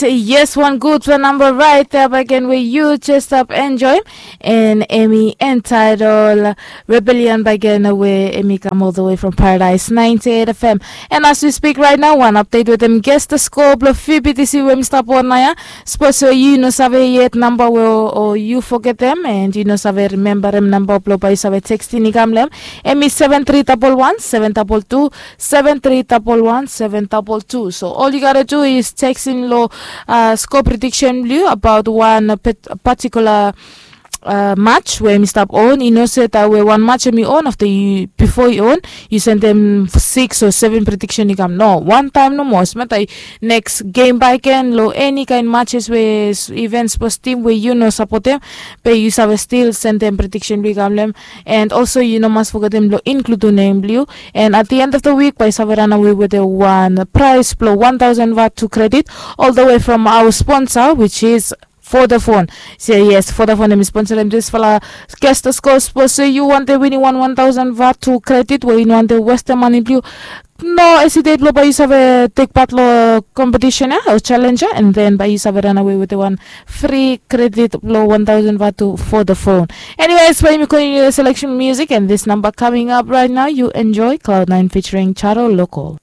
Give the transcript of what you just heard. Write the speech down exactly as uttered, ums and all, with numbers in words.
Yes, wan gudpela namba rait ya bagen we yu jes stap enjoim, en em i entaitol Rebellion bagen we em i kam ol the way from Paradise ninety eight F M. En as we speak right now, wan update wetem guess the score blong F B T C we em i stap on nao ya. Sapos we yu no save yet namba we o yu fogetem en yu no save rimembarem namba blong bae yu save tekstin i kam long em, em i seven three double one seven double two, seven three double one seven double two. So all you gotta do is tekstin long uh, score prediction blong yu about one uh, pet- particular uh, match we em i stap on. I no se that we wan match em i on after yu before i on, yu sendem six o seven prediction i kam. No, wan taem nomo smata next game baeken long eni kaen matches we even sports team we yu no sapotem, be yu save still sendem prediction blong yu kam long em. And also yu no mas fogetem blong include nem blong yu. And at the end of the week bae yu save ranawe wetem wan prize blong one thousand vat to credit all the way from our sponsor, which is Vodafone. So yes, Vodafone em i sponsorem disfala guest score. Sapos yu wantem winim wan one thousand vat to credit we yu no wantem westem mane blong yu, no hesitate blong bae yu save tek pat long competition ya o challenge ya, and then bae yu save ranawe wetem wan free credit blong one thousand vat to Vodafone. Anyways, bae yumi continue the selection music and this number coming up right now. You enjoy Cloud Nine featuring Charo Local.